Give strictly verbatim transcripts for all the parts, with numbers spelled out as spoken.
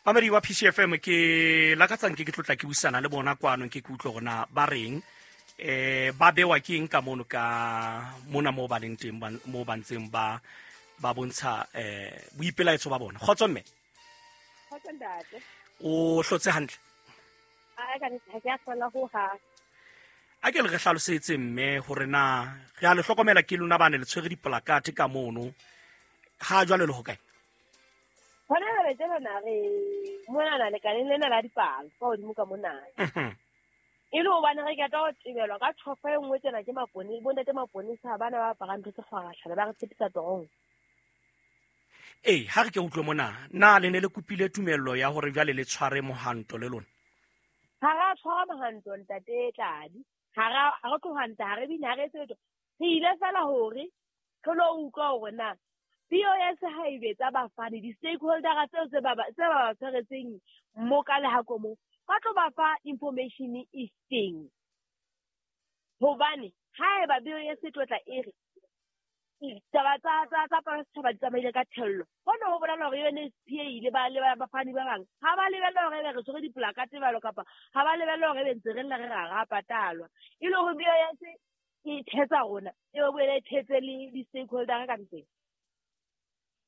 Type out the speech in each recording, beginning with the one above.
Mamedi wa P C F M ke lakatsang ke ke tlotla ke buisana le bona kwano ke ke utlwe hore na ba reng eh ba bewa ke eng ka mono ka mona mo ba leng teng mo ba ntseng ba ba bontsha eh boipelaetso ba bona. Kgotso mme. Kgotso ntate. O hlotse hantle? A ka ha ke a hlola ho ha. A ke le re hlalosetse mme hore na re a le hlokomela ke lona ba ne le tshwere dipolakate ka mono. Ha jwale le ho kae? Hona jwale tjena na re mona na lekaleng lena la dipalo ka hodimo ka mona. E le hobane re qeta ho tebelwa ka tjhofa e nngwe tjena ke mapone, bontate maponesa bana ba aparang ntho tse kgwarashana ba re tshepisa torong. Ee, ha re ke utlwe mona, na le ne le kopile tumello ya hore jwale le tshware mohanto le lona? Ha ra tshwara mohanto ntate Tladi. Ha ra ha re tlohanta ha re bine ha re etse letho. Re ile fela hore re lo utlwa hore na B O S ha e betsa bafani di-stakeholder tseo tse ba tse ba tshwaretseng mo ka le ha komo ba tlo ba fa information e feng. Hobane haeba B O S e tlo tla e re taba tsa tsa tsa setjhaba di tsamaile ka thello, hona ho bolela hore U N S P A ile ba le bafani ba bang ha ba lebella hore ebe re tshwere dipolakate jwalo kapa ha ba lebella hore ebe ntse re lla re ra ra patalwa. E le hore B O S e thetsa rona e boele e thetse le di-stakeholder ka ntle.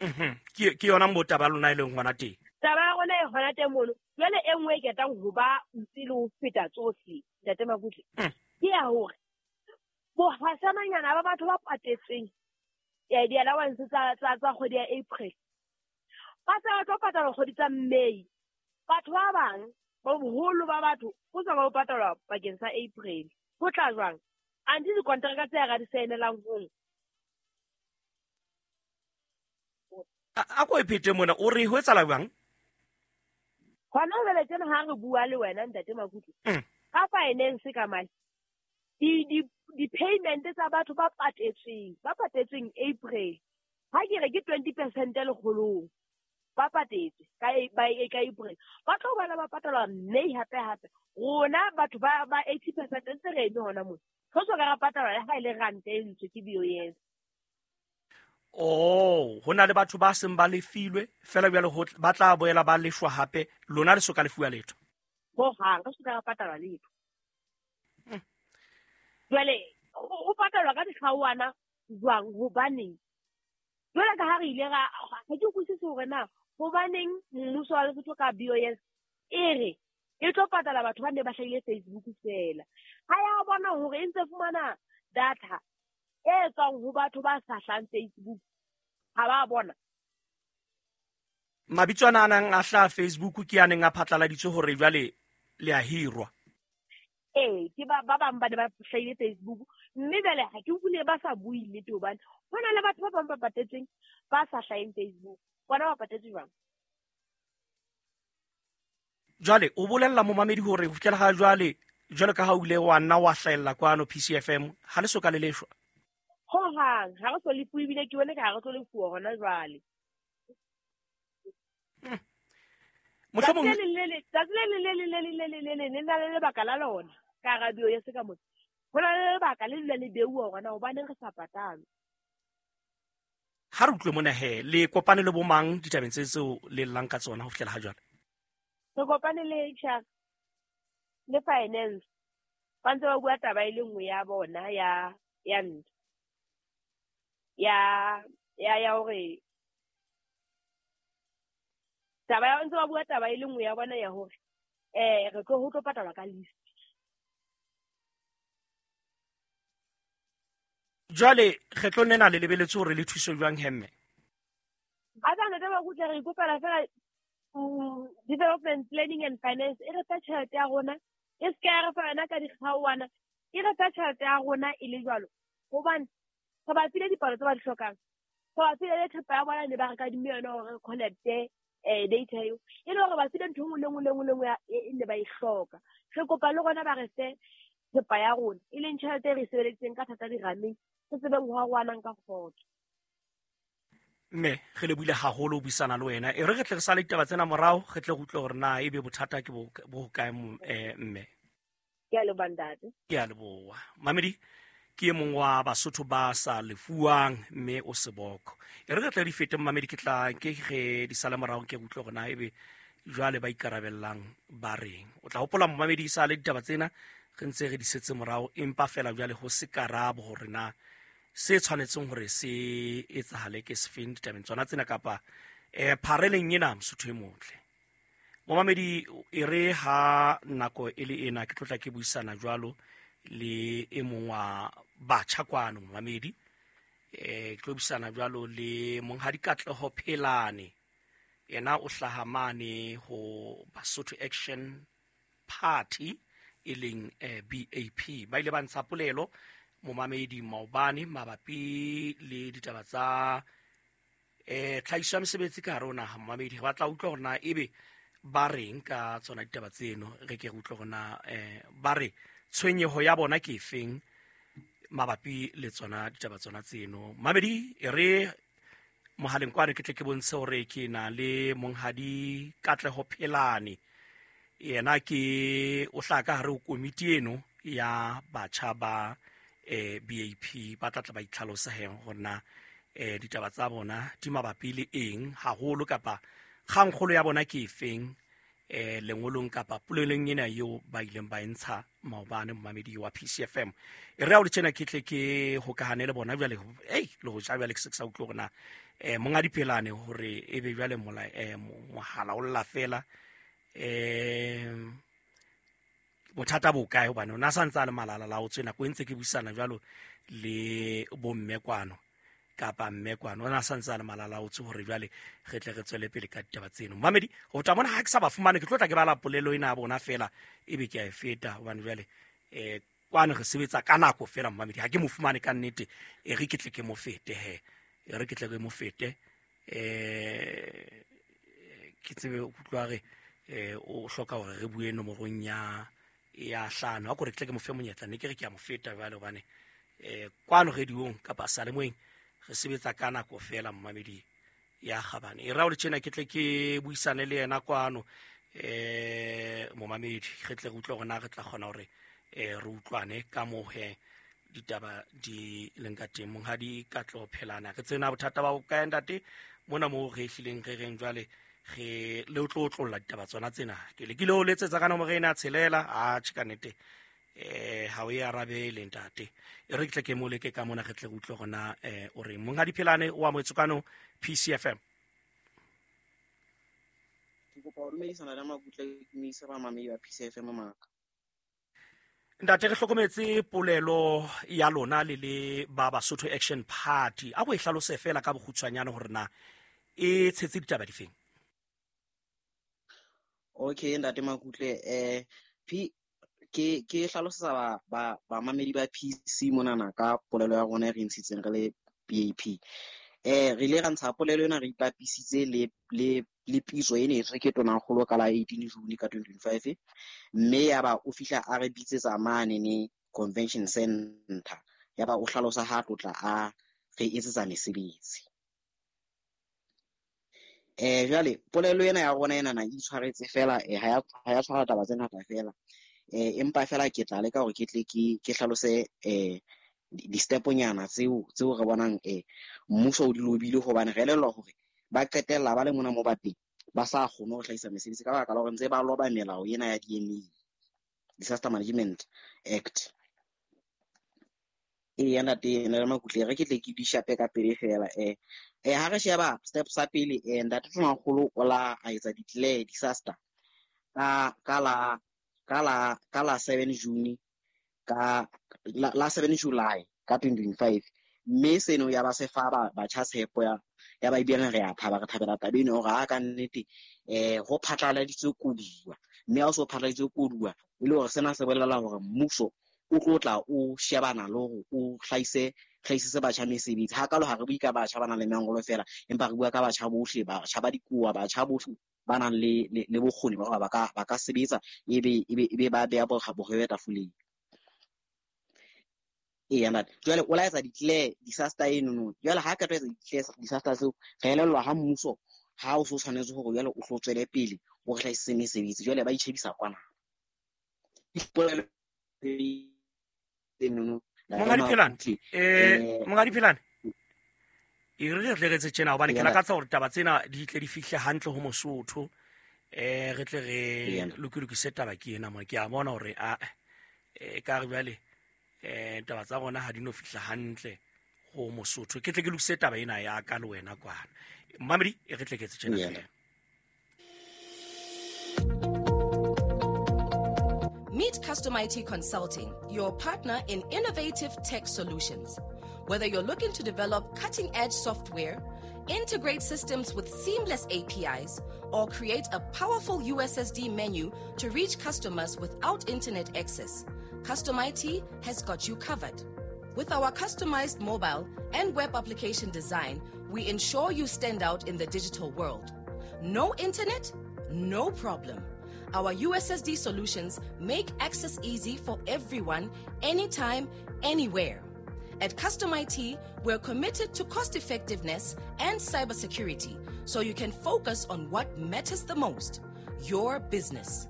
Mhm. Ke ke yona mo taba lona e leng hona teng. Taba ya rona e hona teng mono. Jwale e nngwe e ketang ho ba ntse le ho feta tsohle, ntate Makutle. Ke ya hore bohasananyana ba batho ba patetseng ya di-allowance tsa tsa tsa kgwedi ya April. Ba tsa ba tlo patalwa kgwedi tsa May. Batho ba bang ba boholo ba batho ho sa ba patalwa bakeng sa April. Ho tla jwang? Anti dikonteraka tse ra di saenelang hong. A ko e phete mona o re ho etsahala jwang? Hona jwale tjena ha re bua le wena ntate Makutle. Ka finance ka mane. Di di di-payment tsa batho ba patetsweng, ba patetsweng April. Ha ke re ke twenty percent lekgolong. Ba patetswe ka ba ka April. Ba tlo bana ba patalwa May hape hape. Rona batho ba ba eighty percent ntse re eme hona mona. Re so ka ra patalwa le ha e le ranta e ntswe ke B O S. Oh, hona le batho ba seng ba lefilwe fela jwale ho ba tla boela ba lefwa hape lona le soka lefuwa letho. Ho hang re soka ra patalwa letho. Jwale ho patalwa ka dikgaoana jwang hobaneng? Jwale ka ha re ile ra ha ke utlwisise hore na hobaneng mmuso wa Lesotho ka B O S e re e tlo patala batho ba ne ba hlahile Facebook fela. Ha ya bona hore e ntse fumana data e tswang ho batho ba sa hlahang Facebook. Ha ba bona. Mabitso ana a nang a hlaha Facebook ke a neng a phatlaladitswe hore jwale le a hirwa. Ee, ke ba ba bang ba ne ba hlahile Facebook mme jwale ha ke utlwile ba sa bue nnete hobane ho na le batho ba bang ba patetsweng ba sa hlaheng Facebook. Bona ba patetswe jwang? Jwale o bolella momamedi hore ho fihlela ha jwale jwalo ka ha o ile wa nna wa hlahella kwano P C F M ha le soka le leshwa. Ho hang ha re so lefuwe ebile ke bone ka ha re tlo lefuwa hona jwale. Mohlomong tsatsi le leng le leng le leng le leng le leng le na le lebaka la lona ka hara B O S ka mona. Ho na le lebaka le dula le beuwa hore na hobaneng re sa patalwe. Ha re utlwe mona he, le kopane le bomang ditabeng tse tseo le llang ka tsona ho fihlela ha jwale? Re kopane le H R le finance. Ba ntse ba bua taba e le nngwe ya bona ya ya ntho. Ya ya ya hore taba ya ntse ba bua taba e le nngwe ya bona ya hore eh re tlo ho tlo patalwa ka list. Jwale kgetlong lena le lebeletse hore le thuswe jwang hemme? A tsa ntate Makutle re ikopela fela development planning and finance e re fa tjhelete ya rona e se ka ya re fa yona ka dikgaoana e re fa tjhelete ya rona e le jwalo hobane re ba file dipalo tse ba di hlokang. Re ba file le thepa ya bona ne ba re kadimme yona hore re connect-e eh data eo e le hore ba file ntho e nngwe le nngwe le nngwe le nngwe e ne ba e hloka. Re kopa le rona ba re fe thepa ya rona e leng tjhelete e re e sebeleditseng ka thata dirameng re tsebeng ho arohanang ka kgotso. Mme re lebohile haholo ho buisana le wena. E re re tle re sale ditaba tsena morao re tle re utlwe hore na ebe bothata ke bo bo hokae mme. Ke a leboha ntate. Ke a leboha. Mamedi ke e mong wa Basotho ba sa lefuwang mme o seboko. E re re tle di fete mamedi ke tla ke re di sale morao ke utlwe hore na ebe jwale ba ikarabellang ba reng. O tla hopola momamedi sa le ditaba tsena re ntse re di setse morao, empa fela jwale ho se karabo hore na se tshwanetseng hore se etsahale ke sefeng ditabeng tsona tsena kapa eh phareleng ena Mosotho e motle. Momamedi e re ha nako e le ena ke tlotla ke buisana jwalo le e mong wa batjha kwano momamedi, eh ke tlo buisana jwalo le Monghadi Katleho Phelane. Yena o hlaha mane ho Basotho Action Party e leng eh, B A P. Ba ile ba ntsha polelo momamedi maobane mabapi le ditaba tsa eh tlhahiso ya mesebetsi ka hare ho naha. Momamedi re batla utlwa hore na ebe ba reng ka tsona ditaba tseno, re ke re utlwe hore na eh ba re tshwenyeho ya bona ke efeng mabapi le tsona ditaba tsona tseno. Mamedi e re mohaleng kwane ke tle ke bontshe hore ke na le Monghadi Katleho Phelane. Yena ke o hlaha ka hare ho komiti eno ya batjha ba eh B A P. Ba tla tla ba itlhalosa he hore na eh ditaba tsa bona di mabapi le eng haholo kapa kgangkgolo ya bona ke efeng eh lengolong kapa polelong ena eo ba ileng ba e ntsha maobane momamedi wa P C F M. E re ha o le tjena ke tle ke hokahane le bona jwale, ei le ho ja jwale ke se ke sa utlwe hore na eh Monghadi Phelane hore ebe jwale mola eh mohala o lla fela eh bothata bo kae, hobane ona sa ntse a le malala la o tswe nako e ntse ke buisana jwalo le bomme kwano kapa mme kwano, ona sa ntse a le malala o tswe hore jwale re tle re tswele pele ka ditaba tseno. Mamedi ho tla bona ha ke sa ba fumane ke tlo tla ke bala polelo ena ya bona fela ebe ke a e feta, hobane jwale eh kwano re sebetsa ka nako fela. Mamedi ha ke mo fumane ka nnete e re ke tle ke mo fete he, e re ke tle ke mo fete eh ke tsebe o utlwa re eh o hloka hore re bue nomorong ya ya hlano, ha kore ke tle ke mo fe monyetla ne ke re ke a mo feta jwale, hobane eh kwano radiong kapa salemoeng re sebetsa ka nako fela. Momamedi ya kgabane e ra o le tjena ke tle ke buisane le yena kwano eh momamedi re tle re utlwe hore na re tla kgona hore eh re utlwane ka moo he ditaba di leng ka teng. Monghadi Katleho Phelane, re tsena bothata ba bokae ntate mona moo re hlileng re reng jwale re le o tlo otlolla ditaba tsona tsena. Ke lekile ho letsetsa ka nomoro ena tshelela, a tjhe ka nnete eh ha o e arabele ntate. E re ke tle ke mo leke ka mona re tle re utlwe hore na eh o reng. Monghadi Phelane o amohetswe kwano P C F M. Ke kopa ho dumedisana le Makutle, ke dumedise bamamedi ba P C F M maka. Ntate re hlokometse polelo ya lona le le ba Basotho Action Party. A go e hlalose fela ka bokgutshwanyane hore na e tshetse ditaba difeng. Okay ntate Makutle, eh P ke ke hlalosetsa ba ba bamamedi ba P C monana ka polelo ya rona e re ntshitseng re le B A P. Eh re ile ra ntsha polelo ena re ipapisitse le le le pitso e ne e ke Tonakgolo ka la eighteen June ka twenty twenty-five, mme ya ba o fihla a re bitsetsa mane ne convention center, ya ba o hlalosa ha tlotla a re etsetsa mesebetsi. Eh jwale polelo ena ya rona ena na e itshwaretse fela, eh ha ya ha ya tshwara taba tse ngata fela. Eh empa fela ke tla leka hore ke tle ke ke hlalose eh di-steponyana tseo tseo re bonang eh mmuso o di lobile, hobane re elellwa hore ba qetella ba le mona mo ba teng ba sa kgone ho hlahisa mesebetsi ka baka la hore ntse ba loba melao ena ya D M A, Disaster Management Act. Eya ntate nna le Makutle re ke tle ke di shape ka pele fela. Eh eh ha re sheba step sa pele, eh ntate Tonakgolo o la a etsa declare disaster ka ka la ka la ka la seven June ka la, la seven July ka twenty twenty-five, mme seno ya ba se fa ba batjha tshepo ya ya ba ibile re a thaba re thabela taba eno hore ha ka nnete eh ho phatlaladitswe koduwa, mme ha o so phatlaladitswe koduwa e le hore sena se bolela hore mmuso o tlo tla o shebana le hore o hlahise hlahisitse batjha mesebetsi. Ha kalo ha re bue ka batjha ba nang le mangolo fela, empa re bua ka batjha bohle, batjha ba dikoa, batjha bohle ba nang le le bokgoni ba hore ba ka ba ka sebetsa ebe ebe ebe ba beha bohwebe tafoleng. Eya ntate, jwale o la etsa declare disaster eno no. Jwale ha ka tlo etsa declare disaster seo, re elellwa ha mmuso ha o so tshwanetse hore jwale o tlo tswele pele o re hlahisitse mesebetsi, jwale ba itjhebisa kwana. Dipolelo eno Monghadi Phelane, eh Monghadi Phelane, e re re tle re etse tjena hobane ke lakatsa hore taba tsena di tle di fihle hantle ho Mosotho. Eh re tle re lokilokise taba ke ena mo ke a bona hore a e ka re jwale eh taba tsa rona ha di no fihla hantle ho Mosotho. Ke tle ke lokise taba ena ya ka le wena kwana. Mamedi e re tle ke etse tjena fela. Meet Custom I T Consulting, your partner in innovative tech solutions. Whether you're looking to develop cutting-edge software, integrate systems with seamless A P Is, or create a powerful U S S D menu to reach customers without internet access, Custom I T has got you covered. With our customized mobile and web application design, we ensure you stand out in the digital world. No internet? No problem. Our U S S D solutions make access easy for everyone, anytime, anywhere. At Custom I T, we're committed to cost effectiveness and cybersecurity, so you can focus on what matters the most, your business.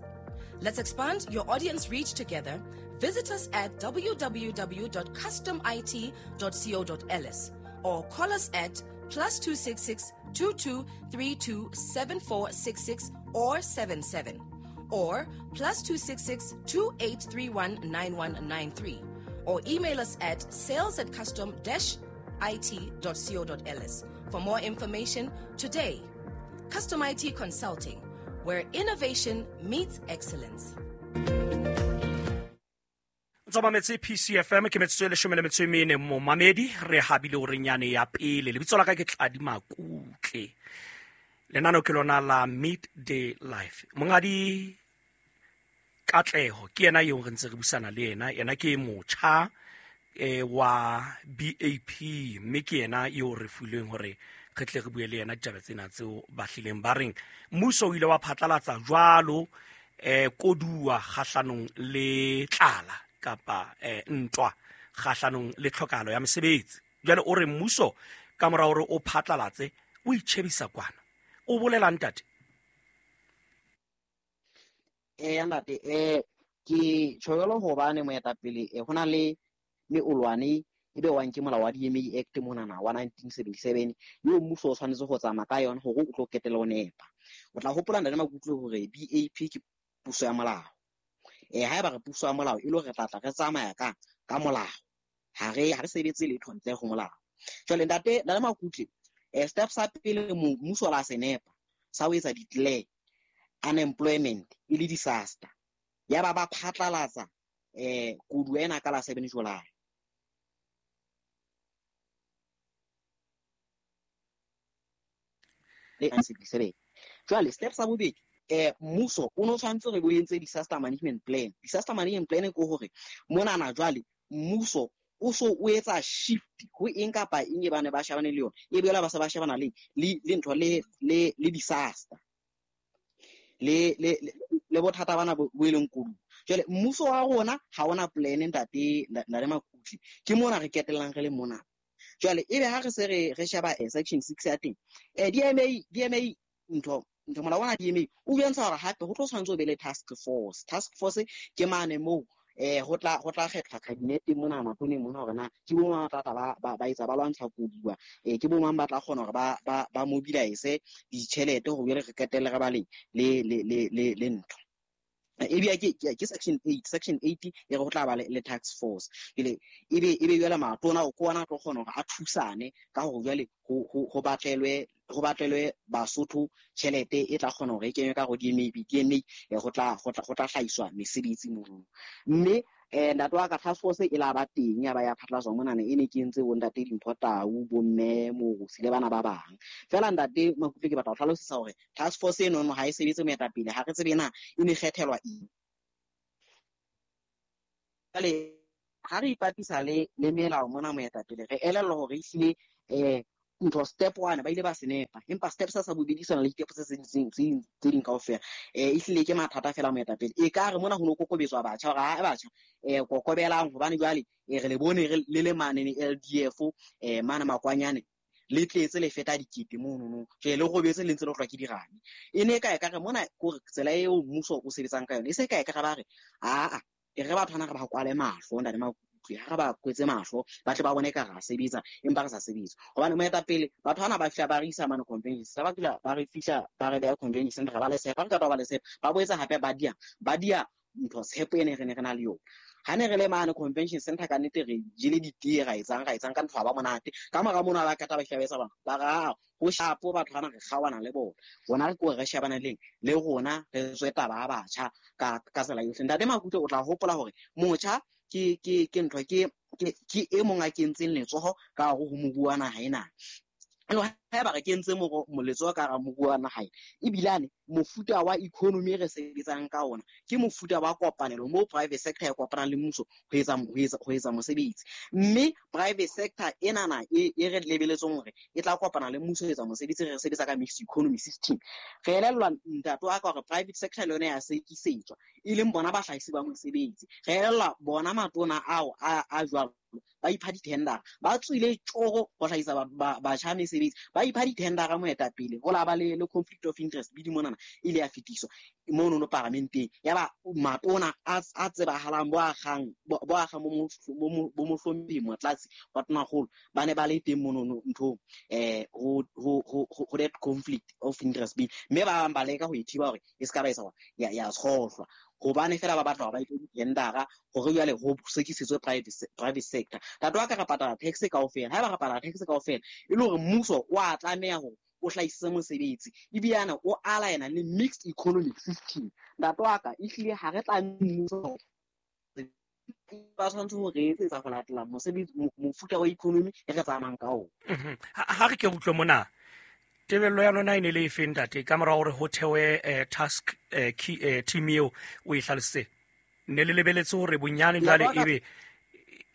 Let's expand your audience reach together. Visit us at w w w dot custom I T dot co dot l s or call us at plus two six six, two two three two seven four six six or seven seven or plus two six six, two eight three one nine one nine three or email us at sales at custom dash I T dot co dot l s for more information today. Custom I T Consulting, where innovation meets excellence. Ntse mametse P C F M ke metsotso e leshome le metso e mene momamedi re habile hore nyane ya pele lebitso la ka ke Tladi Makutle lenano ke lona la Midday Life. Mongadi Katleho ke yena eo re ntse re busana le yena, yena ke motjha e wa B A P mme ke yena eo re filweng hore re tle re bue le yena ditaba tsena tseo ba hlileng ba reng mmuso o ile wa phatlalatsa jwalo eh koduwa kgahlanong le tlala kapa eh, ntwa kgahlanong le tlhokahalo ya mesebetsi. Jwale o re mmuso ka mora hore o phatlalatse o itjhebisa kwana. O bolela ntate? Eh ntate eh ke tjholo hobane moetapele eh hona le meolwane e be wang ke molao wa D M A Act monana wa nineteen seventy-seven yo mmuso o tshwanetse go tsamaya ka yona hore o tlo ketela o nepa. O tla hopola ntate Makutle hore B A P ke puso ya molao. Eh haeba re puso ya molao e lo re tlatla re tsamaya ka ka molao. Ha re ha re sebetse letho ntle go molao. Jwale ntate ntate Makutle eh step sa pele mmuso la senepa sa o etsa declare unemployment e le disaster. Ya ba ba phatlalatsa eh kodu ena ka la seven July. Le sixty-seven. Jwale step sa bobedi eh mmuso o no tshwantse re bo entse disaster management plan. Disaster management plan ke hore monana jwale mmuso o so o etsa shift ho eng kapa eng e bane ba shebane le yona e bela ba se ba shebana le le ntho le le le disaster le le le bothata bana bo e leng kodu. Jwale mmuso wa rona ha ona plan ntate ntate Makutle ke mona re ketellang re le mona. Jwale ebe ha re se re re sheba section six ya teng eh D M A D M A ntho ntho molao wa D M A o bontsha hore hape ho tlo tshwantse o be le task force. Task force ke mane moo eh ho tla ho tla kgethwa cabinet mona matone mona hore na ke bo mang ba tla ba ba etsa ba lwantsha koduwa eh ke bo mang ba tla kgona hore ba ba ba mobilize ditjhelete hore re qetelle re ba le le le le le ntho. Ebe ke ke section eight section eight e re ho tla ba le task force ele ebe ebe jwale matona o kona tlo kgona hore a thusane ka hore jwale ho ho batlelwe ho batlelwe Basotho tjhelete e tla kgona hore e kenywe ka go D M A D M A go tla go tla go tla hlahiswa mesebetsi mono. Mme eh ntate wa ka task force e la ba teng ya ba ya phatlatswa monana e ne ke entse bo ntate Dimpho Tau bo mme Morusi le bana ba bang. Fela ntate Makutle ke batla ho hlalosisa hore task force eno no ha e sebetse moetapele ha re tsebe na e ne kgethelwa eng. Jwale ha re ipapisa le le melao mona moetapele re elellwa hore ehlile eh ntho step one ba ile ba senepa empa step sa sa bobedi sona le ditepo tse tse tse ding kaofela eh ehlile ke mathata fela moetapele e ka re mona ho no kokobetswa batjha hore ha batjha eh kokobelang hobane jwale e re le bone re le le mane ne L D F eh mana makwanyane le tletse le feta dikete mono no je le robetse le ntse le tlwa ke dirane e ne ka e ka re mona gore tsela eo mmuso o sebetsang ka yona e se ka e ka re ba re a a e re batho bana re ba kwale mahlo ntate Makutle. utlwe, ha re ba kwetse mahlo, ba tle ba bone ka ra sebetsa empa re sa sebetse. Hobane moetapele batho bana ba fihla ba re isa mane convention center, ba fihla ba re fihla ba re beha convention center, ba le tshepa, re qeta ho ba le tshepa, ba boetse hape ba dia ba dia ntho tshepo ene re ne re na le yona. Ha ne re le mane convention center ka nnete re jele ditee, ra etsang ra etsang ka ntho ha ba monate. Ka mora mono ha ba qeta ba fihla ba etsa bang, ba ra ho shapo batho bana re kgaohana le bona. Rona re ko re shebana leng le rona re tswe taba ya batjha ka ka tsela yohle. Ntate Makutle o tla hopola hore motjha ke ke ke ntho ke ke ke e mong a kentseng letsoho ka hare ho moruo wa naha ena. Jwale haeba re kentse letsoho ka hara moruo wa naha ena, ebilane mofuta wa economy re sebetsang ka ona ke mofuta wa kopanelo moo private sector e kopanang le mmuso ho etsa ho etsa ho etsa mosebetsi. Mme private sector enana e e re lebeletseng hore e tla kopana le mmuso ho etsa mosebetsi, re sebetsa ka mixed economy system. Re elellwa ntate wa ka hore private sector le yona ya sekisetswa, e leng bona bahlahisi ba mosebetsi. Re elellwa bona matona ao a a jwalo ba ipha di-tender, ba tswile tjoro ho hlahisa batjha mesebetsi, ba ipha di-tender moetapele, ho la ba le le conflict of interest bidi monana ile ya fetiswa mono no paramenteng. Ya ba matona a a tsebahalang bo akgang bo akgang bo bo mohlomphehi Motlatsi wa Tonakgolo ba ne ba le teng mono no nthong eh ho ho ho ho that conflict of interest bill, mme ba bang ba leka ho e thiba hore e ska ba etsa ya ya tshohlwa, hobane fela ba batla hore ba iphe di-tendera hore jwale ho sekisetswe private private sector. Ntate wa ka re patala tax kaofela, haeba re patala tax kaofela e le hore mmuso o a tlameha hore o hlahisitse mosebetsi ebilane o aligna le mixed economic system. Ntate wa ka ehlile ha re tla mmuso ba tshwanetse ho re etsetsa ho latela mosebetsi mofuta wa economy e re tsamayang ka ona. Ha re ke utlwe mona, tebello ya lona e ne le efe ntate ka mora hore ho thewe task team eo o e hlalositse? Ne le lebeletse hore bonyane jwale ebe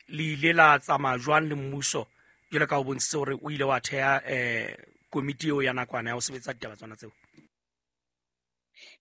le ile la tsamaya jwang le mmuso jwalo ka o bontshitse hore o ile wa theha komiti eo ya nakwana ya ho sebetsa ditaba tsona tseo?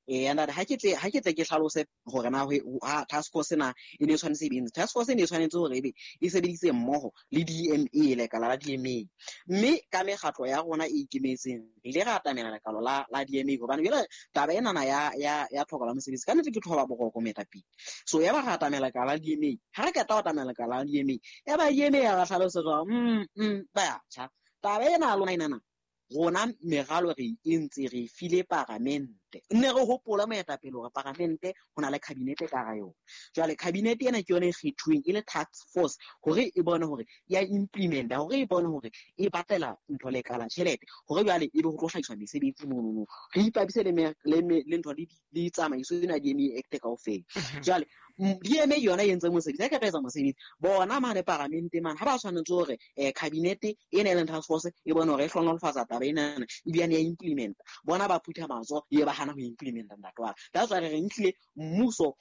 Eh ntate, ha ke tle ha ke tle ke hlalose hore na ha task force na e ne tshwanetse e be task force e ne tshwanetse hore ebe e sebeditse mmoho le D M A, lekala la D M A, mme ka mekgatlo ya rona e ikemetseng re ile ra atamela lekala la la D M A, hobane jwale taba ena na ya ya ya tlhoko la mosebetsi ka nnete ke thoba boroko moetapele. So ya ba ra atamela lekala la D M A, ha re qeta ho atamela lekala la D M A, ya ba D M A ya ra hlalosetsa mm mm batjha taba ena ya lona ena rona meralo re entse re file paramente. Nne re hopola moetapele hore paramente ho na le cabinet ka hara yona. Jwale cabinet ena ke yona e kgethuweng e le task force hore e bone hore ya implementa, hore e bone hore e batlela ntho lekala tjhelete, hore jwale ebe ho tlo hlahiswa mesebetsi monono. Re ipapise le le ntho le le tsamaiso ena D M A Act kaofela. Jwale D M A yona e entse mosebetsi, ha e ka etsa mosebetsi bona mane paramente mane ha ba tshwanetse hore cabinet ena e leng task force e bone hore e hlohonolofatsa taba ena ebilane ya implementa, bona ba phutha matsoho e ba hana ho implementa ntate wa ka. That's why re re ntlile mmuso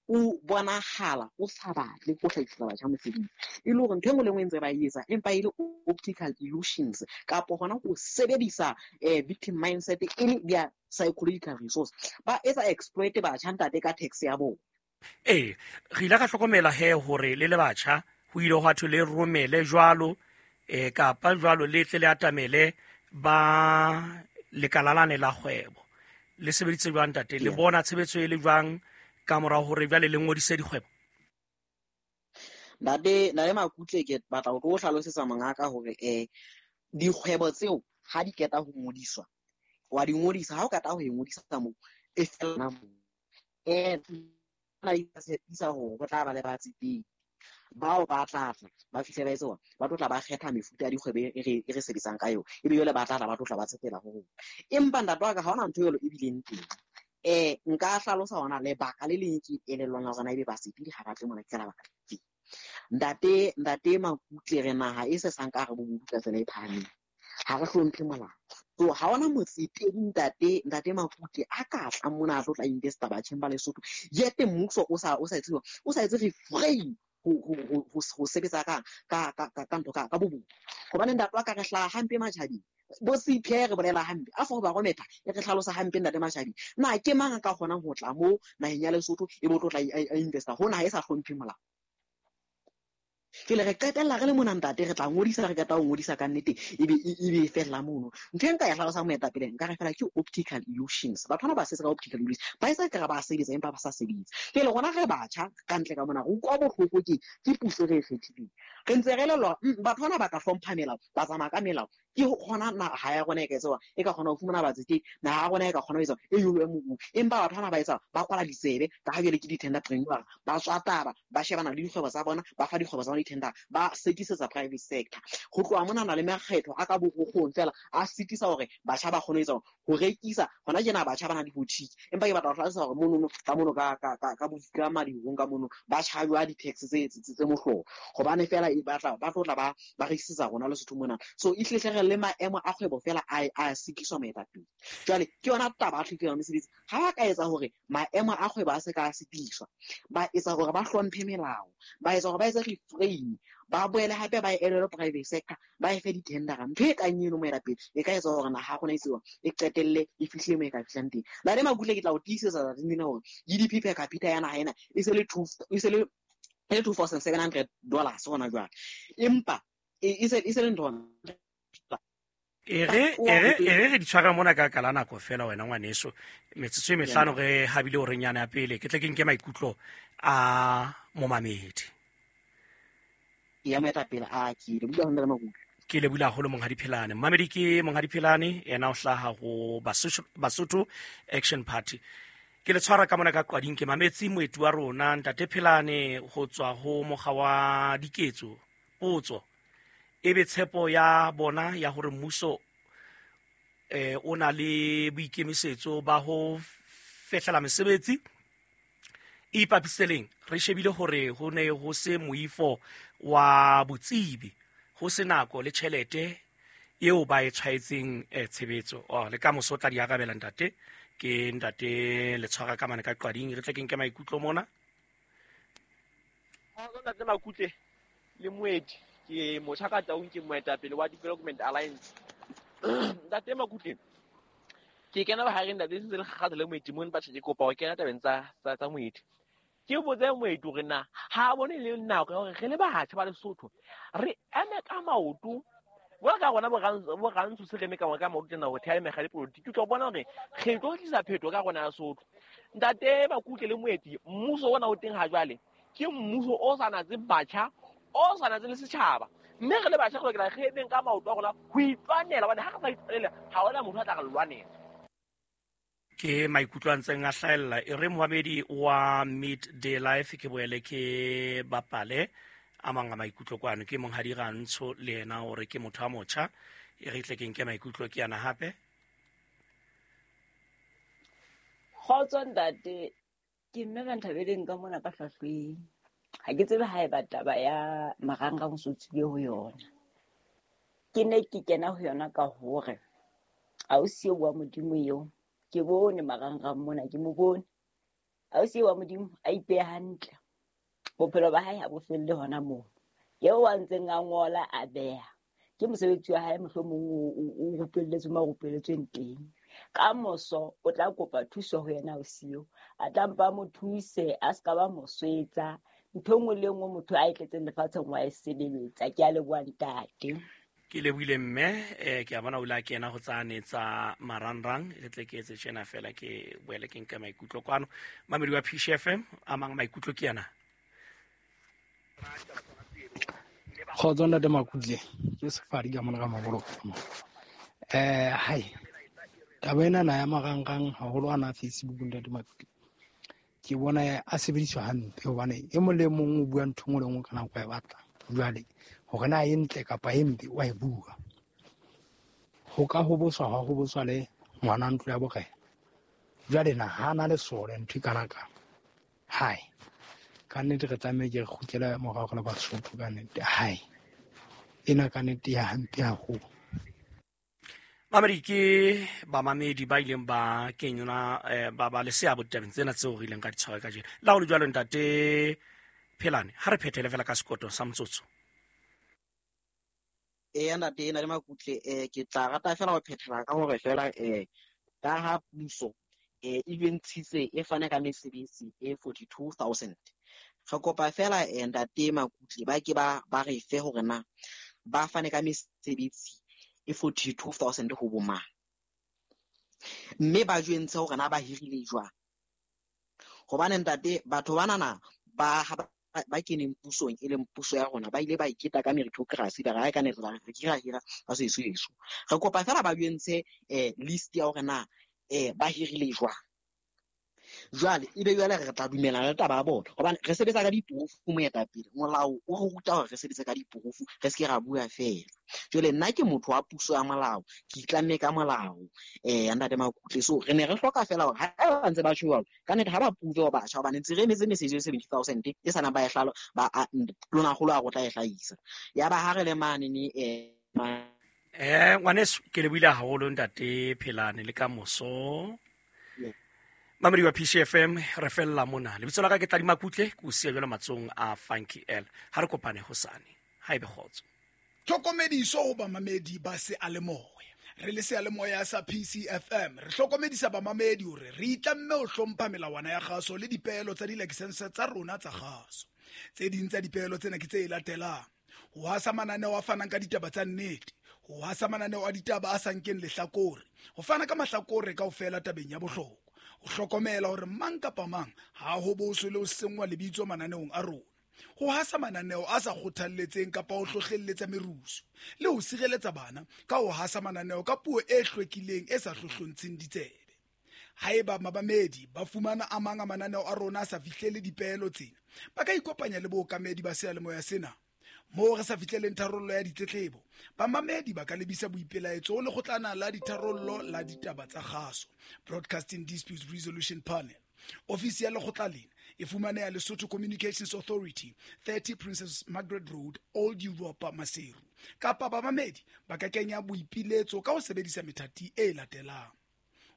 o bonahala o sa batle ho hlahisa batjha mosebetsi, e le hore ntho e nngwe le nngwe e ntse ba e etsa empa e le optical illusions kapo hona ho sebedisa victim mindset e le their psychological resource, ba etsa exploit batjha ntate ka tax ya bona. Ee, re ile ka hlokomela he hore le le batjha ho ile hwa thwe le romele jwalo eh kapa jwalo le tle le atamele ba lekalalane la kgwebo. Le sebeditse jwang ntate? Le bona tshebetso e le jwang ka mora hore jwale le ngodise dikgwebo? Ntate, ntate Makutle, ke batla ho tlo hlalosetsa mongaka hore eh dikgwebo tseo ha di qeta ho ngodiswa, wa di ngodisa, ha o qeta ho e ngodisa moo e fela moo. Eh na itshepisa hore ho tla ba le batsetedi bao ba tla tla ba fihle ba etsa ba tlo tla ba kgetha mefuta ya dikgwebo e re e re sebetsang ka yona, ebe jwale ba tla tla ba tlo tla ba tsetela ho rona. Empa ntate wa ka ha hona ntho eo e bileng teng. Eh nka hlalosa hona lebaka le leng ke elellwang la hore ebe batsetedi ha ba tle mona ke lebaka lefe. Ntate ntate Makutle, re naha e se sang ka hare bobodu ka tsela e phahameng, ha re hlomphe molao. So ha hona motsetedi ntate ntate Makutle a ka tlang mona a tlo tla investa batjheng ba Lesotho, yete mmuso o sa o sa etse o sa etse refrain ho ho ho ho sebetsa ka ka ka ka ntho ka ka bobodu. Hobane ntate wa ka re hlaha hampe matjhabeng, bo C P A re bolela hampe, a for barometer e re hlalosa hampe ntate Mashabi. Na ke mang a ka kgonang ho tla mo naheng ya Lesotho e bo tlo tla a investa ho naha e sa hlomphe molao? Jwale re qetella re le mona ntate, re tla ngodisa, re qeta ho ngodisa ka nnete, ebe ebe e fella mono. Ntho e nka e hlalosang moetapele, nka re fela ke optical illusions. Batho bana ba sebetsa ka optical illusions, ba etsa ekare ba sebetsa empa ba sa sebetse. Jwale rona re batjha ka ntle ka mona, re utlwa bohloko ke ke puso re e kgethileng. Re ntse re elellwa batho bana ba ka hlompha melao, ba tsamaya ka melao. Ke hona naha ya rona e ka etsa, e ka kgona ho fumana batsetedi, naha ya rona e ka kgona ho etsa e nyolohe moruo. Empa batho bana ba etsa, ba kwala ditsebe ka ha jwale ke di-tenderpreneur, ba tswa taba, ba shebana le dikgwebo tsa bona, ba fa dikgwebo tsa bona di-tender, ba sekisetsa private sector. Ho tloha monana le makgetho a ka borokgong fela a sitisa hore batjha ba kgone ho etsa ho rekisa. Hona tjena batjha ba na le boutique, empa ke batla ho hlalosa hore monono ka mono ka ka ka ka ka Madirong ka mono ba charge di-tax tse tse mohlolo, hobane fela e batla ba tlo tla ba ba rekisetsa rona Lesotho mona. So e hle le maemo a kgwebo fela a a sikiswa moetapele. Jwale ke yona taba ya tlhokeho ya mesebetsi. Ha ba ka etsa hore maemo a kgwebo a se ka sitiswa, ba etsa hore ba hlomphe melao, ba etsa hore ba etse refrain, ba boele hape ba elele private sector, ba e fe di-tendera. Ntho e kang eno moetapele e ka etsa hore naha ya rona e tsewa e qetelle e fihle moo e ka fihlang teng. Ntate Makutle, ke tla o tiisetsa tsatsing lena hore G D P per capita ya naha ena e se le two, e se le e le two thousand seven hundred dollars hona jwale, empa e se e se le ntho. E re e re e re re di tshwara mona ka kala nako fela wena ngwaneso, metsotso e mehlano re habile hore nyana ya pele ke tle ke nke maikutlo a momamedi. Ya moetapele a ke le bula ho Makutle. Ke le bula haholo Monghadi Phelane. Mmamedi ke Monghadi Phelane, yena o hlaha ho Basotho Action Party. Ke le tshwara ka mona ka qwading, ke mametse moeti wa rona Ntate Phelane ho tswa ho mokga wa diketso. Potso ebe tshepo ya bona ya hore mmuso eh o na le boikemisetso ba ho fehlela mesebetsi e ipapiseleng. Re shebile hore ho ne ho se moifo wa botsebi, ho se nako le tjhelete eo ba e tshwaetseng tshebetso. Oh, le ka moso tla di arabela ntate. Ke ntate le tshwara ka mane ka qwading, re tle ke nke maikutlo mona. Ntate Makutle le moeti, ke motjha ka Taung, ke moetapele wa Development Alliance. Ntate Makutle, ke kena bohareng ntate, sentse le kgatha le moeti mone batjha, ke kopa ho kena tabeng tsa tsa moeti. Ke botse moeti hore na ha bone le nako ya hore re le batjha ba Lesotho re eme ka maoto jwalo ka rona bo rantsho se re eme ka ka maoto tjena ho theha mekga ya dipolotiki. O tlo bona hore re tlo tlisa phetho ka rona ya Sotho. Ntate Makutle le moeti, mmuso ona o teng ha jwale ke mmuso o sa natse batjha, o sa natse le setjhaba, mme re le batjha re lokela re emeng ka maoto a rona ho itwanela, hobane ha re sa itwanela ha hona motho a tla re lwanela. Ke maikutlo a ntseng a hlahella. E re moamedi wa Midday Life ke boele ke bapale a mang a maikutlo kwano. Ke Monghadi Rantsho le yena hore ke motho a motjha, e re tle ke nke maikutlo ke yana hape. Kgotso ntate, ke mme ba nthabeleng ka mona ka hlahlweng. Ha ke tsebe haeba taba ya marangrang so tswile ho yona. Ke ne ke kena ho yona ka hore ausi wa Modimo eo ke bone marangrang mona, ke mo bone ausi wa Modimo a ipeha hantle, bophelo ba hae ha bo felle hona moo. Eo a ntseng a ngola a beha ke mosebetsi wa hae, mohlomong o rupelletswe mo a rupelletsweng teng. Ka moso o tla kopa thuso ho yena ausi eo, a tla mpa mo thuse, a ska ba mo swetsa. Ntho nngwe le nngwe motho a e tletseng lefatsheng wa e sebeletsa. Ke a leboha ntate. Ke lebohile mme, eh ke a bona o ile a kena ho tsane tsa marangrang. Re tle ke etse tjena fela, ke boele ke nke maikutlo kwano. Mamedi wa P C F M, a mang maikutlo ke yana. Kgotso ntate Makutle, ke Sefadi ka mona ka Maboloko. Eh hai, taba ena na ya marangrang haholo ana Facebook ntate Makutle, ke bona a sebediswa hampe, hobane e mong le mong o bua ntho nngwe le nngwe ka nako e batlang. Jwale hore na e ntle kapa e mpe wa e bua. Ho ka hoboswa ha hoboswa le ngwana ntlo ya borena. Jwale na ha na le sole ntho e kana ka hai, ka nnete re tlameha ke re kgutlele morao re le Basotho ka nnete. Hai, ena ka nnete ya hampe haholo. Mamedi ke bamamedi ba ileng ba kenyona ba ba le seabo ditabeng tsena tseo re ileng ka di tshwara kajeno. La ho le jwalo ntate Phelane, ha re phethele fela ka sekoto sa motsotso. Eya ntate ena le Makutle, eh ke tla rata fela ho phethela ka hore fela eh ka ha puso eh e ntshitse e fane ka mesebetsi e forty-two thousand. Re kopa fela eh, ntate Makutle ba ke ba ba re fe hore na ba fane ka mesebetsi e forty-two thousand ho bo mang, mme ba jwentshe hore na ba hirile jwang. Hobane ntate batho banana ba ha ba ba keneng pusong e leng puso ya rona ba ile ba iketa ka meritocracy, ba re ha e ka ne re re hira hira ba se eso eso. Re kopa fela ba jwentshe eh list ya hore na eh ba hirile jwang. Jwale ebe jwale re tla dumellana le taba ya bona, hobane re sebetsa ka dipurufu moetapele. Molao o re ruta hore re sebetse ka dipurufu, re se ke ra bua fela. Jwale nna ke motho wa puso ya molao, ke itlamme ka molao eh ntate Makutle. So re ne re hloka fela hore ha ba ntse ba tjho jwalo, ka nnete ha ba prove hore batjha, hobane ntse re emetse message ya seventy thousand e sana ba e hlalo ba lona kgolo a rotla e hlahisa. Ya ba ha re le mane ni eh eh ngwaneso ke le buile haholo ntate Phelane le ka moso. Mamedi wa P C F M re fella mona. Lebitso la ka ke Tladi Makutle, ke o siya jwalo matsohong a Funky L. Ha re kopane hosane. Ha ebe kgotso. Tlhokomediso ho bamamedi ba seyalemoya. Re le seyalemoya sa P C F M re hlokomedisa bamamedi hore re itlamme ho hlompha melawana ya kgaso le dipeelo tsa dilakesense tsa rona tsa kgaso. Tse ding tsa dipeelo tsena ke tse latelang: ho hasa mananeo a fanang ka ditaba tsa nnete, ho hasa mananeo a ditaba a sa nkeng lehlakore, ho fana ka mahlakore kaofela tabeng ya bohlokwa, ho hlokomela hore mang kapa mang ha ho boswe le ho senngwa lebitso mananeong a rona, ho hasa mananeo a sa kgothalletseng kapa ho hlohlelletsa merusu, le ho sireletsa bana ka ho hasa mananeo ka puo e hlwekileng e sa hlohlontsheng ditsebe. Haeba mabamedi ba fumana a mang a mananeo a rona a sa fihlele dipeelo tsena, ba ka ikopanya le bookamedi ba seyalemoya sena. Moo re sa fihleleng tharollo ya ditletlebo, bamamedi ba ka lebisa boipelaetso ho lekgotlana la ditharollo la ditaba tsa kgaso, Broadcasting Disputes Resolution Panel. Ofisi ya lekgotla lena e fumaneha Lesotho Communications Authority, thirty Princess Margaret Road, Old Europa, Maseru. Kapa bamamedi ba ka kenya boipiletso ka ho sebedisa methati e latelang: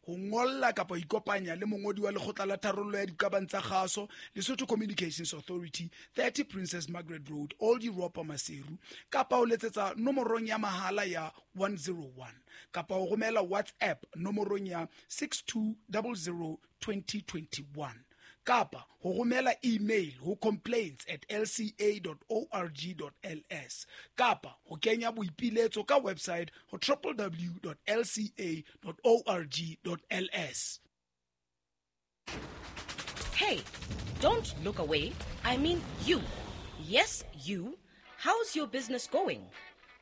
ho ngolla kapa ho ikopanya le mongodi wa lekgotla la tharollo ya diqabang tsa kgaso, Lesotho Communications Authority, thirty Princess Margaret Road, Old Europa, Maseru, kapa ho letsetsa nomorong ya mahala ya one zero one, kapa ho romela WhatsApp nomorong ya six two zero zero twenty twenty-one, kapa ho romela email ho complaints at l c a dot org dot l s, kapa ho kenya boipiletso ka website ho w w w dot l c a dot org dot l s. Hey, don't look away. I mean you. Yes, you. How's your business going?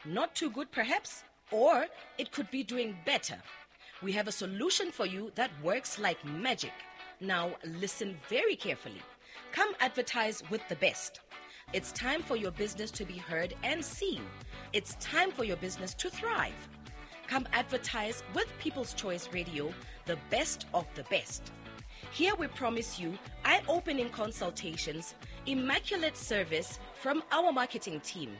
Not too good perhaps, or it could be doing better. We have a solution for you that works like magic. Now listen very carefully. Come advertise with the best. It's time for your business to be heard and seen. It's time for your business to thrive. Come advertise with People's Choice Radio, the best of the best. Here we promise you eye-opening consultations, immaculate service from our marketing team.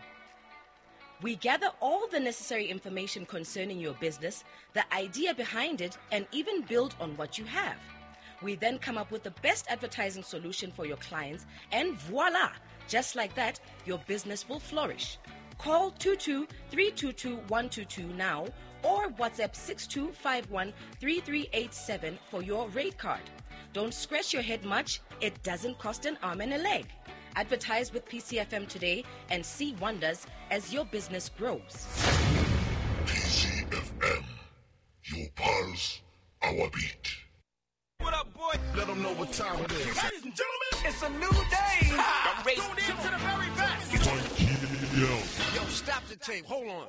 We gather all the necessary information concerning your business, the idea behind it, and even build on what you have. We then come up with the best advertising solution for your clients, and voila! Just like that, your business will flourish. Call two two three two two one two two now or WhatsApp six two five one three three eight seven for your rate card. Don't scratch your head much. It doesn't cost an arm and a leg. Advertise with P C F M today and see wonders as your business grows. P C F M, your pulse, our beat. What up, boy? Let them know what time it is. Ladies and gentlemen, it's a new day. Ha! I'm tuned in to the very best. Yo. Yo, stop the tape. Hold on.